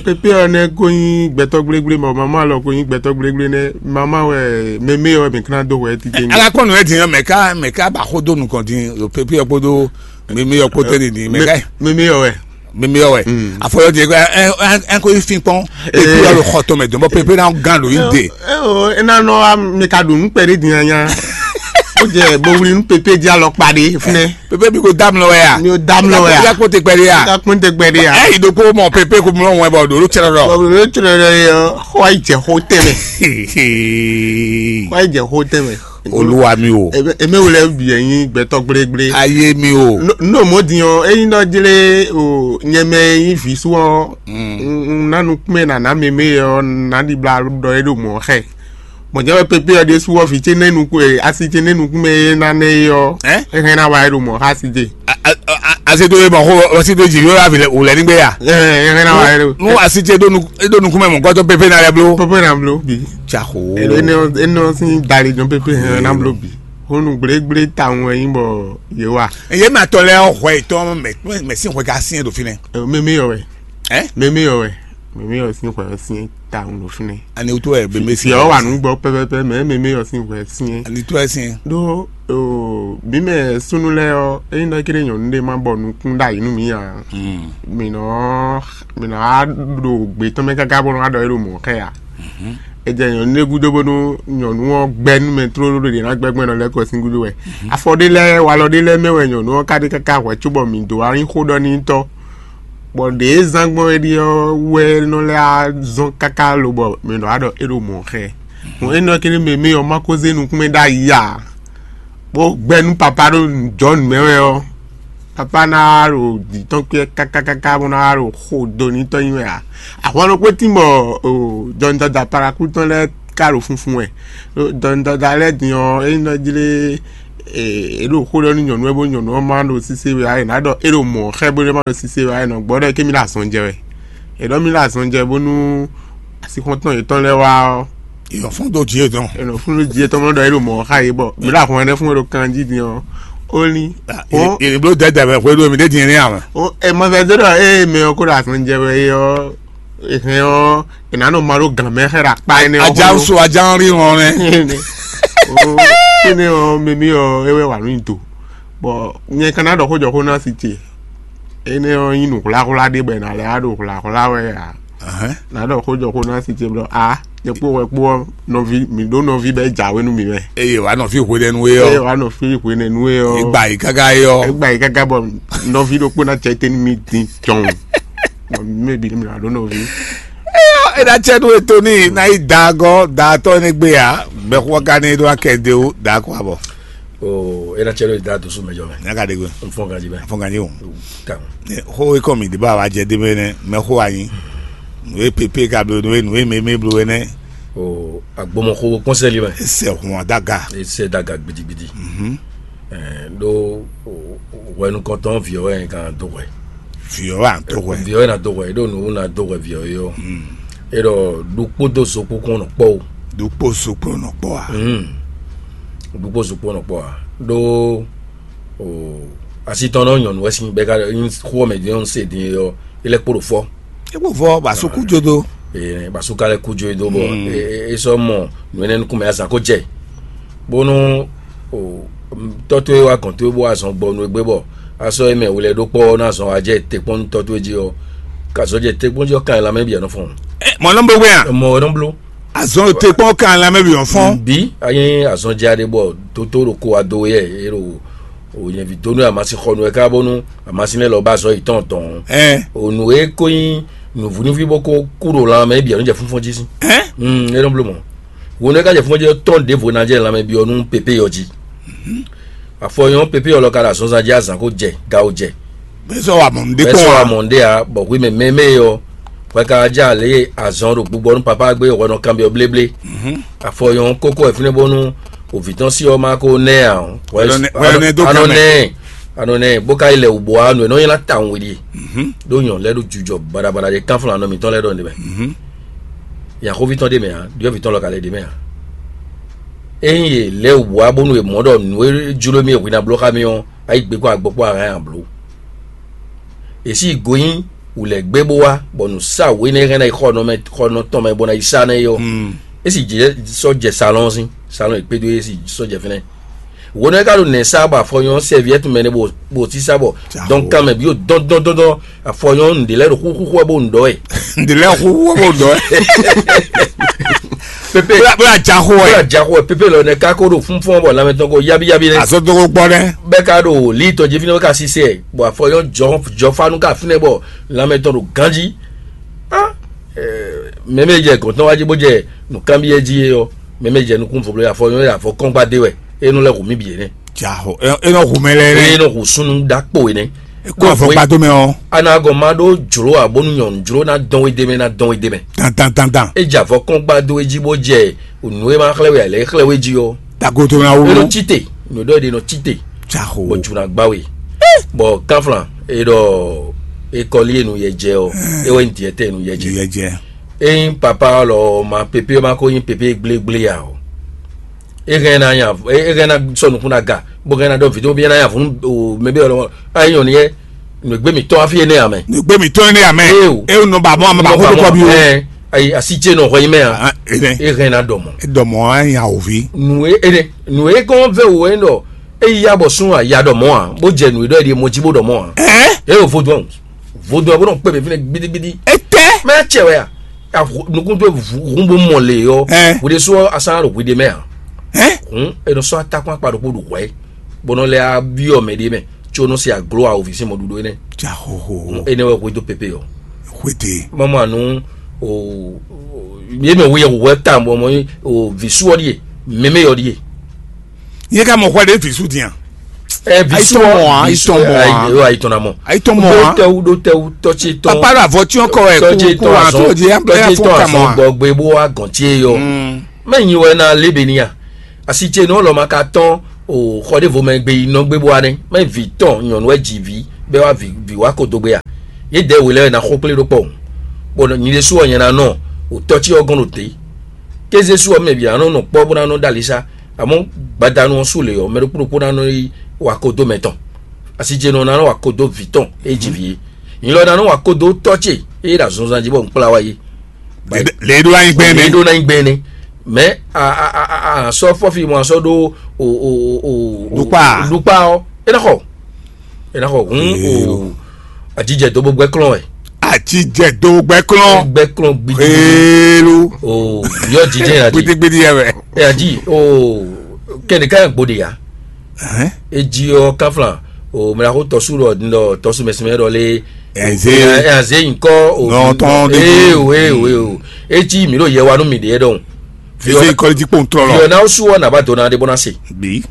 Pépé ɔ́ nɛ́ kó nyí gbɛtɔ́ gblégblé, bɔ mamá lɔ kó nyí gbɛtɔ́ gblégblé nɛ́. Mamá wɛ mɛ mɛ ɔ́ mɛ ká ná dó hwɛ titewungbe. Ala kɔn nǔ wɛ din ɔ́, mɛ ká mɛ ká ba xó dó nukɔn din ɖo pépé ɔ́ kpódó mímí ɔ́ kpódó din din mɛ ká. Mímí ɔ́ wɛ. Mímí ɔ́ wɛ. Mm. Afɔyɔ din ɛ ɛ ɛ kó fin kpɔn. Ee. Epi ɔlò xɔ tɔn mɛ dɔn bɔ pépé ná gán ló yín de. Ɛ o, é ná nɔ wá mi ka ɖu nú kpɛɖé din anya. Ó jɛ bo wuli nú pépé jí alɔ kpa ɖé fúnɛ. Pépé bí ko dá mi lɔ wɛ ya. Mi ò dá mi lɔ wɛ ya. Ká kpó te kpɛɖé ya. Ká kpó te kpɛɖé ya. Ɛ ìdókòwò mɔ pépé kó mlɔ wọn bɔ ɖòló tsɛrɛ lɔ. Ɔ ɖòló tsɛrɛ lɔ yɛ xɔ ayijɛ xó tɛmɛ. Xɔ ayijɛ xó tɛmɛ. Olúwa mi o. Eme wòle bì ɛ nyi gbɛtɔ gblégblé. Ayé mi o. N'o mɔ din ɔ, eyin dɔ jlé o nyɛmɛ yin visu ɔ, un nanu kpɛn nana meme ɔ, na di bla ɖɔ e ɖo mɔ xɛ. Mɔ jɛ wɛ pépé ɔ ɖésú ɔ, vǐ ce nɛ nukún e asi ce nɛ nukún mɛ e na nɛ e ɔ, Ɛ? Ehɛn na wa e ɖo mɔ xá si ce. Azedo ye mɔ xo ɔsi do dzi yɔ avi wòlɛ nígbɛ ya. Ehɛn na wa e ɖo. Nu asi ce ɖo nu eɖo nukún mɛ mɔ gbɔdɔ pépé na lɛ blo. Pépé na blo bi. Tsaxo. Eno eno sin dali jɔn pépé hɛn na blo bi. Honu gblégblé tawun wɛ nyí bɔ yé wa. Eye ma tɔ lɛ hwɛ etɔn mɛ mɛ sin hwɛ ka sin do fi nɛ. Meme yɔ wɛ. Ɛ? Meme yɔ wɛ. Meme yɔ sin hwɛ sin tawun do fi nɛ. Ani wutu wɛ bebe si. Yɔ wa nu gbɔ pɛpɛpɛ mɛ meme yɔ sin hwɛ sin. Ani tu wɛ sin. Ɖó o bí mɛ súnú lɛ ɔ eyin ɖɔ kéré nyɔnu ɖé ma bɔ nukún ɖ'ayǐ nú mǐ ǎ. Mǐ nɔ mǐ nɔ wá ɖo gbětɔn mɛ káká bó nɔ wá ɖɔ é ɖo mɔ̌ xɛ ǎ. È jɛ nyɔ̌nu ɖé gúdo bónú nyɔ̌nu ɔ́ gbɛ́ nú mɛ tlóló ɖé ná gbɛ́ gbɛ́ nɔ lɛ́ kɔ sín gúdo wɛ. Afɔ ɖé lɛ́ɛ, walɔ ɖé lɛ́ɛ mɛ wɛ nyɔ̌nu ɔ́ ka ɖe káká hwɛ̌ cóbɔ mǐ dó wá nyí xó ɖɔ n'i tɔ́. Bɔ ɖě e zán gbɔn é ɖíe ɔ́ wɛ nɔ lɛ́ wá zɔ́n káká lobɔ mǐ nɔ wá ɖɔ é ɖo mɔ̌ xɛ. Hɔn énɛ́ ɔ́ kɛ́n mɛ mɛ ɔ́ má ko zé nukúnmɛ ɖ'ayǐ ǎ, bó gbɛ́ nú papá ɖo jɔ̌nu mɛ wɛ ɔ́, papá ná wá ɖo dǐ tɔn kpé kákákáká bó ná wá ɖo xo do n'i tɔn nyi wɛ ǎ. Ahwan ɖokpó tín bɔ jɔnudɔdɔ aparakú tɔn lɛ́ɛ ka ɖo funfun wɛ. Jɔnudɔdɔ lɛ́ɛ din ɔ́, é nɔ jlé é ɖo xó ɖɔ nú nyɔ̌nu wɛ bó nyɔ̌nu ɔ́ má ɖo sise wɛ ǎ, è nǎ ɖɔ é ɖo mɔ̌ xɛ bó ɖé má ɖo sise wɛ ǎ, è nɔ gbɔ ɖɔ é ké mì ɖo azɔn jɛ wɛ. È ɖɔ mì ɖo azɔn jɛ bónú asixɔ́ntɔn yětɔn lɛ́ɛ wá ɔ́, yɔ fún dó jí yětɔn. È nɔ fún dó jí yětɔn mɔ ɖɔ é ɖo mɔ̌ xá yě bɔ mǐ ɖo ahwan ɛnɛ fún é ɖo kan jí din ɔ́, ó ní. Ó, Yě bló dɛdɛ mɛ xwé ɖó mi ɖé din ní amɛ. Ó, ɛ mɔ vɛ dó ɖɔ ée mɛ ɔ́ kó ɖo azɔn jɛ wɛ é ɔ́, è hɛn ɔ́, è nǎ nɔ ma ɖó gǎn mɛ xɛ ɖo akpá énɛ́ ɔ́. Ajá ń so ajá ń rí hɔn nɛ. Ó, énɛ́ ɔ́, mímí ɔ́, é wɛ wà nú nyi do. Bɔ nyɛ ka ná ɖɔ xó jɔ xó ná si ce. Énɛ́ ɔ́ nyí nǔ hwláhwlá ɖé bɔ è nǎ lɛ́ wá ɖo hwláhwlá wɛ ǎ. Nǎ ɖɔ xó jɔ xó ná si ce blɔ a nyɛ kpó wɛ kpó ɔ́, nɔví mǐ ɖó nɔví bɔ é jǎwe nú mǐ wɛ. Eye wǎ nɔ fí hwenɛnu é Eye ɔ́. Wá nɔ fí hwenɛnu é ɔ́. Egba yi káká é ɔ́. Egba yi káká bɔ nɔví ɖokpó ná cɛ tɛn nú mì din tɔn. Bɔ mɛ bǐ mǐ ná ɖó nɔví. Ena cɛ nú eto ní ná yi da gɔ́ da tɔ́ ní gbé ya. Bɛ xɔ ka ní ɖó akɛ de o da kɔ abɔ. O ena cɛ nú da dosu mɛ jɔ mɛ. Nya ka de gbe. N fɔn ganji mɛ. Fɔn ganji o. Kan. Xo ekɔ mi de ba wa jɛ de mɛ nɛ mɛ xo anyi. Nue pepe ka blo nue nue meme blo wɛ nɛ. O agbɔmɔxo kɔnsɛli mɛ. Sɛ hun adaga. Sɛ daga gbidigbidi. Mhm. Ɖó hwɛnukɔntɔn vǐ ɔ́ wɛ kan dó hwɛ. Vǐ ɔ́ wɛ an dó hwɛ. Vǐ ɔ́ wɛ ná dó hwɛ ɖó nǔ ná dó hwɛ vǐ ɔ́ é ɔ́. É ɖɔ ɖokpó dó zokpó kɔn nɔ kpɔ́ o. Ɖokpó zokpó nɔ kpɔ́ a? Ɖokpó zokpó nɔ kpɔ́ a? Ɖó asi tɔn nɔ nyɔ̌nu wɛ sín bɛ́ ká xó ɔ́ mɛ dín ɔ́ se dín é ɔ́, é lɛ́ kpo ɖo fɔ́. É kpo fɔ́ ba sukú jodo. Basu ka lɛ kú jó e dó bɔ é sɔ́ mɔ nǔ énɛ́ nukún mɛ azǎn ko jɛ, bónú tɔ́ towe wá gɔ̌n towe bó wá zɔn gbɔ nú égbé bɔ a sɔ́ émɛ hwelɛ́ɖókpɔ́ ɔ́ ná zɔn wá jɛ te kpɔ́n nú tɔ́ towe jí ɔ́, ka zɔn jɛ te kpɔ́n jí ɔ́ kan lanmɛ bǐ nɔ fɔ́n. Mɔ̌ nɔ bó gbé a? Mɔ̌ nɔ bló. Azɔn te kpɔ́n kan lanmɛ bǐ nɔ fɔ́n. Bí a nyí azɔn jɛ aɖé bɔ dótó ɖo ko wá dó yɛ é ɖo o nyɛvi dó nú amasin xɔ nú ɛ ká bónú amasin lɛ́ɛ lɔ ba azɔ̌ yětɔn tɔn. Ɛ O nǔ e ko nyí nǔvúnúví bó ko kú ɖo lanmɛ é bǐ ɔ́ nɔ jɛ fúnfún jí sín. Ɛ Mm, é nɔ bló mɔ̌. Wo nú é ka jɛ fúnfún jí ɔ́ tɔn ɖěvo ná jɛ lanmɛ byɔ́ nú pépé ɔ́ jí. Afɔ nyɔ́ pépé ɔ́ lɔ ka ɖo azɔnzan jí azǎn ko jɛ gawo jɛ. Bɛ sɔ wa mɔ nɖé Bɛ kpɔn sɔ wa. Amɔ ɖé a bɔ hwi mɛ mɛmɛ ɔ́ hwɛ ka jɛ alě azɔn ɖo gbigbɔ nú papá gbé hwɛ nɔ kanbyɔ bléblé. Afɔ nyɔ́ kókó wɛ fínɛ́ bónú òvǐ tɔn sí ɔ́ má ko nɛ ǎ. Hwɛ Hwɛ nɔ nɛ- hwɛ nɔ nɛ dó anɔ kanmɛ. Nɛ anɔ nɛ bó ka yi lɛ wǔ bó wa nú ɛ nɔ nylá tawun we ɖíe. Ɖó nyɔ lɛ́ ɖo jujɔ baɖabaɖa ɖe kánflán anɔ mǐtɔn lɛ́ ɖɔ nɖé mɛ. Yǎxóví tɔn ɖé mɛ ǎ, ɖyɔ̌vǐ tɔn lɔ ka lɛ́ ɖě mɛ ǎ. Ényí yě lɛ́ wǔ wá bónú è mɔ̌ ɖɔ nǔ e jló mì e hwi ná bló xá mì ɔ́, a yi gbe kpó agbɔ kpó ahan nyi ablǒ. È sí yi go nyí wǔlɛ́gbé bó wá, bɔ nǔsáwǔ énɛ́ hɛn ná yi xɔ nɔ mɛ xɔ nɔ tɔn mɛ bó ná yi sá nɛ́ é ɔ́, é sì jɛ sɔ́ jɛ salɔ́n sín salɔ́n e kpédó é sì sɔ́ jɛ fínɛ́. Wǒ nɔ é ka ɖo nɛ̌ sá bɔ afɔ nyɔ́ sɛviɛ́tu mɛ nɛ́ bó bó sísá bɔ dɔn kan mɛ bǐ ɖo dɔn dɔn dɔn dɔn afɔ nyɔ́ nǔɖé lɛ́ɛ ɖo xúxú xú wɛ bó un ɖɔ wɛ. Ndilɛ hu wo ɖɔ. Pepe Bla bla jaxo bla ɛ. Jaxo ɛ pepe lɔ nɛ ka ko ɖo fúnfún bɔ lanmɛ tɔn ko yabi yabi nɛ. Azɔ dɔgɔ gbɔ nɛ. Bɛ ka ɖo li tɔn jí fínɛ bɛ ka sisɛ bɔ afɔ nyɔ́ jɔ jɔ fanu ka fínɛ bɔ lanmɛ tɔn ɖo ganji. Ah, mɛmɛ jɛ gɔntɔn wájú bó jɛ nùkanbyɛ jí é ɔ́, mɛmɛ jɛ nukún vɔblɔ afɔ nyɔ́ afɔ kɔngba dé wɛ é nɔ lɛ hu mì bì é nɛ. Jaxo e nɔ hu mɛ lɛ nɛ. E nɔ hu sunu ɖakpo é nɛ. Kó avɔ gba dó mɛ ɔ́. Anagɔn ma ɖó jló abónú nyɔnu jló ná dɔn wé dé mɛ ná dɔn wé dé mɛ. Dandan dandan. E jɛ avɔ kɔn gba dó é jí bó jɛ nǔ e ma xlɛ́ wɛ alɛ xlɛ́ wé jí ɔ́. Dagoto na E wolo. Nɔ tite nǔ ɖɔ ɖe nɔ tite. Jaxo. Bɔ juna gba we. Bɔ kanflan e ɖɔ ekɔli enu yɛ jɛ ɔ, e wɛ ŋdi ɛtɛ enu yɛ jɛ. Yɛ jɛ. Eyin papa lɔ ma pepe ma ko yin pepe gblégblé ya o. E hɛn na nya e hɛn na sɔ nukun na ga bó hɛn na ɖɔ vidéo bi na nya funu o mɛ bɛ lɔ ayi nyɔ ni yɛ nugbe mi tɔn afi ene amɛ. Nugbe mi tɔn ene amɛ. Eyo. E nɔ ba mɔ amɛ ba ko kɔ bi o. Ɛ ayi asi tse nɔ hɔ yi mɛ a. E hɛn na dɔ mɔ. E dɔ mɔ a nya ovi. Nu e ene nu e kɔn vɛ o e nɔ e ya bɔ sun a ya dɔ mɔ a bó jɛ nu e dɔ e di mɔ ji bó dɔ mɔ a. Ɛ. E o vodun vodun a bó nɔ kpɛ bɛ fi ne gbidigbidi. E tɛ. Mɛ cɛ wɛ a. Nukún tó hun bó mɔ lě ɔ́, wòde sɔ́ asán ɖo hwiɖe mɛ ǎ. Hǔn è nɔ sɔ́ atákpán akpa ɖokpó ɖo hwɛ̌, bó nɔ lɛ́ byɔ́ mɛ ɖé mɛ, có nɔ se aglo awǒvi sín mɔɖuɖu énɛ́. Jaxoxo. Énɛ́ wɛ hwedó pépé ɔ́. Hwete. Mama nú o Yé mɛ wúyɛ wúwɛ ta mɔ mɔ o vǐ sú ɔ́ ɖíe, mɛmɛ ɔ́ ɖíe. Nyɛ ka mɔ hwɛ ɖé vǐ sú din a? Ɛ vǐ sú ɔ́, ayi tɔn mɔ a? Ayi tɔn mɔ a? Ayi tɔn na mɔ. Ayi tɔn mɔ a? Ɖó tɛwu, ɖó tɛwu, tɔ́ ce tɔn. Papa ɖo avɔ tí ɔ́ kɔ wɛ tɔ́ ce kú tɔn kú azɔn, àtúntò jẹ tɔ́ ce tɔn azɔn gbɔgbe bó wá gɔn ce yɔ. Mɛ nyi wɛ na lébè ní a? Asi ce nɔ lɔ ma ka tɔn o xɔ ɖěvo mɛ gbe yi nɔ gbé bó wá nɛ́. Mɛ vǐ tɔn nyɔ̌nu wɛ ji vǐ bɛ wá vǐ vǐ wá ko dó gbé a? Yě dɛ wě lɛ́ɛ wɛ ná xó kplé ɖó kpɔ́ o. Bɔ nyi ɖésú ɔ́ nyɛ ná nɔ o tɔ́ ce ɔ́ gɔ́n ɖo te. Kéze sú ɔ́ mɛ bǐ ná nɔ nɔ kpɔ́ bó ná nɔ ɖó ali sá. Amɔ̌ gbadanu ɔ́ sú lě ɔ́, mɛ ɖokpó ɖokpó ná nɔ yi wa ko dó mɛ tɔn. Asi ce nɔ ná nɔ wa ko dó vǐ tɔn e ji vǐ é. Nyi lɔ ná nɔ wa ko dó tɔ́ ce e ɖo azɔnzan jí bɔ un kplá wá é. Lě ɖó ná nyí gbɛn Lě nɛ́. Ɖó ná nyí gbɛn nɛ́. Mɛ a a a a a sɔ fɔfi mɔ a sɔ ɖó o o o o Ɖukpa. Ɖukpa ɔ́, é ná xɔ, é ná xɔ hun o. Ajijɛ dó bó gbɛ klɔn wɛ. Ajijɛ dó gbɛ klɔn. Gbɛ klɔn gbidi. Xeelu. O yɔ jijɛ yà di. Gbidigbidi yɛ wɛ. Ɛ adi o kɛnɛ ká gbóde ya. Eji ɔ kafla o mɛ ko tɔsu ɖɔ ɖɔ tɔsu mɛsɛmɛ ɖɔ lé. Ɛnzé. Ɛnzé nkɔ o. Nɔ tɔn de. Ee o ee o ee o. Etsi mi ɖo yɛ wa nú mi ɖe ɖɔn. Fífí kɔlí jí kpɔn trɔ lɔ. Yɔ na su ɔ na ba do na de bɔ na se. Bi.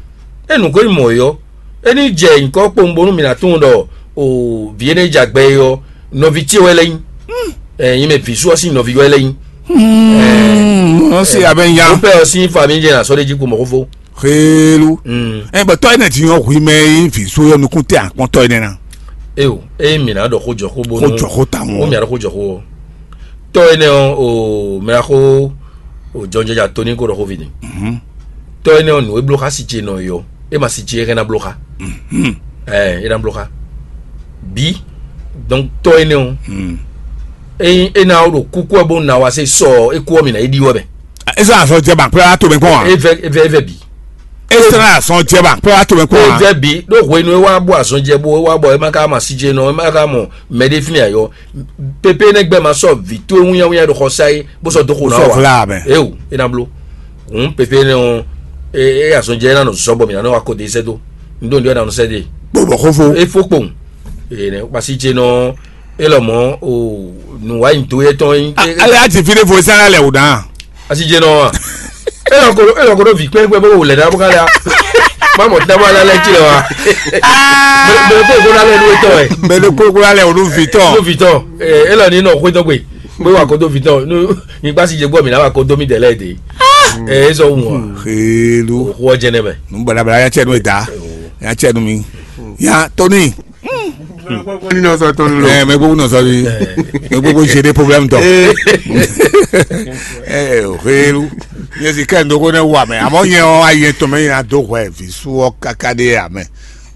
Enu ko mɔ yɔ. Eni jɛ nkɔ kpɔn bonu mi na tun ɖɔ o vi ene dza gbɛ yɔ nɔvi tse wɛ lɛ nyi. Ɛ yin mɛ vi su ɔ si nɔvi wɛ lɛ nyi. Mɔ se abɛ nya. Mo pɛ ɔ si fa mi jɛ na sɔ de jí kú mɔ ko fo. Xeelu. Ɛ bɛ tɔ ene ti yɔ hui mɛ yi vi so yɔ nukun tɛ akpɔn tɔ ene na. Eo eye mi na ɖɔ xó jɔ xó bonu. Xó jɔ xó ta mɔ. Wo mi na ɖɔ xó jɔ xó. Tɔ ene ɔ o mɛ xó o jɔnjɔnja to ní kó ɖɔ xó vi ni. Tɔ ene ɔ nǔ e bló xá si ce nɔ yɔ e ma si ce e hɛn na bló xá. Ɛ e na bló xá. Bi donc tɔ ene ɔ. Eyin e na ɖo kúkú ɛ bó na wa se sɔ e kú ɔ mi na e ɖi wɛ mɛ. Ezɔ azɔ jɛ ban kplɔ ato mɛ kpɔn wa. Evɛ evɛ evɛ bi. Ezɔ azɔ jɛ ban kplɔ ato mɛ kpɔn wa. Evɛ bi ɖo hwenu e wa bɔ azɔ jɛ bo e wa bɔ e ma ka ma si jɛ nɔ e ma ka mɔ mɛ ɖe fi mi ayɔ. Pepe ne gbɛ ma sɔ vi to e wunyawinya ɖo xɔ sa ye bó sɔ do xo na wa. Sɔ fla mɛ. Ewu e na blo. Hun pepe ne o e e azɔ jɛ e na nɔ zɔ bɔ mi na nɔ wa ko de sɛ do. N do n do e na nɔ sɛ de. Gbɔgbɔ xofo. E fo kpɔn. Ee ne pasi jɛ nɔ. Elɔmɔ o nǔwanyido yɛtɔn nyi. Ale ati fi ɖé fo sɛn lɛ o dan. Asi jɛ nɔ wa. Elɔ ko elɔ ko ɖo vi kpɛn kpɛn bó wò lɛ ɖa bó ka lɛ a. Má mɔ tɛmɔ alɛ lɛ tsi lɛ wa. Mɛ mɛ kó kó lɛ nu etɔ wɛ. Mɛ ɖo kó kó lɛ o nu vi tɔn. Nu vi tɔn. Elɔ ni nɔ xwé tɔgbe. Pé wa ko do vi tɔn nu. Mi kpa si jɛ gbɔ mi na wa ko do mi dɛ lɛ de. Ɛ ezɔ wu wa. Xeelu. O xɔ jɛ nɛ mɛ. Nu balabala ya cɛ nu e da. Ya cɛ nu mi. Ya tɔni. Ní nɔ sɔ tɔnu lɔ. Ɛ mɛ gbogbo nɔ sɔ bi. Mɛ gbogbo jɛ de problème tɔ. Ɛ o xeelu. Nye si kɛ ndo ko ne wa mɛ amɔ nye ɔ ayi tɔn mɛ yina do hwɛ visu ɔ kaka de ya mɛ.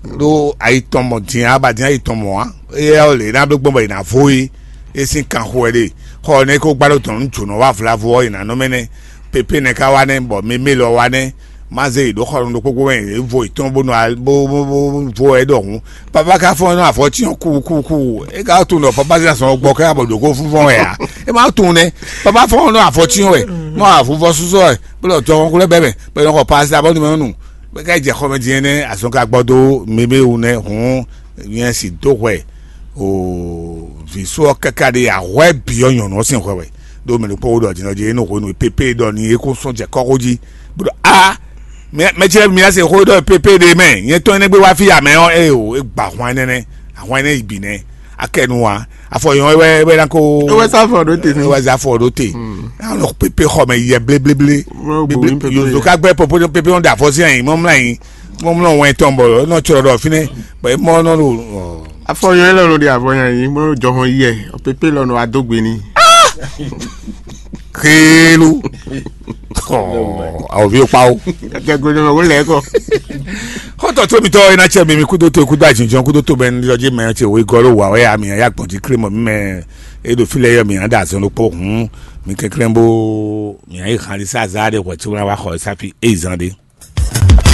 Ɖo ayi tɔn mɔ din aba din ayi tɔn mɔ wa. Eye ɔ le na bɛ gbɔn bɔ yina vo yi. Esi kan xo ɛ de. Xɔ ne ko gbalo tɔn nu jonɔ wa vlavo ɔ yina nɔ mɛ nɛ. Pepe nɛ ka wa nɛ bɔ meme lɔ wa nɛ. Má zé yi ɖó xɔlɔn ɖokpó gbɔn mɛ yě vo yětɔn bó nɔ bó bó bó vo ɛ ɖɔhun. Papa ka fɔn nɔ afɔ tiɔn ku ku ku e ka tunwun ɖɔ papa zan sɔn gbɔ kɛ abɔ ɖokó fúnfɔn wɛ a? E ma tunwun nɛ. Papa fɔn nɔ afɔ tiɔn wɛ nɔ afúnfɔ susɔ wɛ bó lɔ jɔ kɔnkúlɛ bɛ mɛ bɛ nɔ xɔ paasi abɔ numɛ nu bɛ ka jɛ xɔmɛ din nɛ azɔn ka gbɔ dó meme wu nɛ hɔn nyɛ si dó hwɛ o vi sɔ kaka de ahwɛ biɔ nyɔnu ɔsɛn hwɛ wɛ. Ɖó mɛ ɖokpó wo ɖɔ jǐnɔ jí e nɔ hwenu e pépé ɖɔ ni é kó sɔ́ jɛ kɔ́xo jí bó ɖɔ a mɛ mɛ ce lɛ́ɛ mi ná se xó ɖɔ pépé ɖe mɛ nyɛ tɔn énɛ́ gbé wá fí amɛ ɔ́ eye o é gba ahwan énɛ́ nɛ́ ahwan énɛ́ yi bǐ nɛ́ akɛnu wa afɔ yɔn wɛ wɛ ná kó É wɛ sá afɔ ɖó te. É wɛ sá afɔ ɖó te anɔ pépé xɔ mɛ yɛ bléblé Mɔ gbowó ní pépé. Yozo ká gbɛ pépé pépé ɔn da afɔ sí ayi mɔ mlá yi mɔ mlá wɛn tɔn bɔ nɔ tsɔ ɖɔ fínɛ bɔ é mɔ nɔ ɖo Afɔ yɔn élɔ́ nɔ ɖi avɔ nyi anyi bó jɔ hɔn yi ɛ pépé lɔ nɔ adó gbe n'i. Xélu. Awòvi kpa o. Jɛgbe nɔ wó lɛ kɔ. Xɔtɔ tó mitɔ ena tsɛ mi mi kudo to kudo ajinjɔn kudo to bɛ ní yɔdzi mɛ tse wo igɔ ló wa wɛ ami ya gbɔn jí kle mɔ mi mɛ e ɖo fi lɛ yɔ mi ya da azɔn ɖokpó hun mi kɛnklɛn bó mi ya yi han ɖi sá azá ɖe hwɛ tso na wa xɔ safi e zan ɖe.